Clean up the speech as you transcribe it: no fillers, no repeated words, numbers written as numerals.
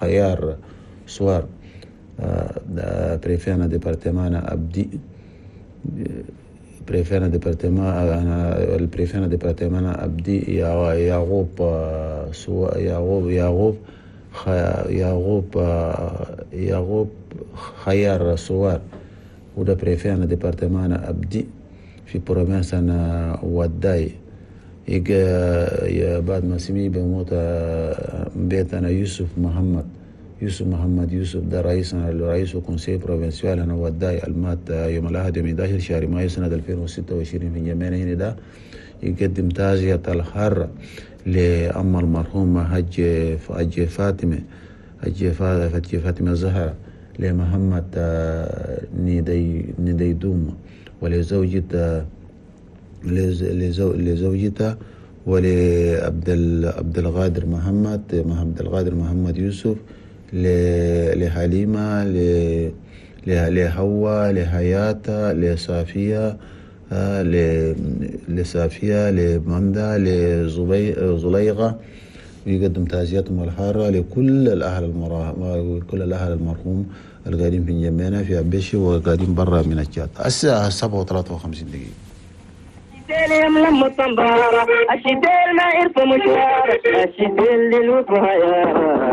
خيار سوار، préfet département أبدي، préfet département، ال préfet département أبدي يعقوب يعقوب يعقوب يعقوب يعقوب خيار سوار، وده préfet département أبدي في province وداي. يجا بعد ما سمي بموت بيتنا يوسف محمد، يوسف محمد يوسف، ده رئيسنا، رئيس conseil provincial هنا وداي، المات يوم الأحد يوم 11 شهر مايو سنة 2026 في جمعنا هنا. ده يقدم تعزية الحارة لأم المرحوم حج فاطمة، حج فاطمة زهرة لمحمد نديدوم ولزوجته لزوجته ولعبد عبد القادر محمد، عبد القادر محمد يوسف، لحليمة، لهوا، لحياة، لصافية، لصافية، لمندا، لزليغة. ويقدم تعزيتهم الحارة لكل الأهل المرا... كل الأهل المرحوم القاعدين في جنبنا في أبيشي وقاعدين برا من الشات. الساعة 7:53. الشتيل يملم الطنبارة، الشتيل ما يرفع مشوار، الشتيل للوفا.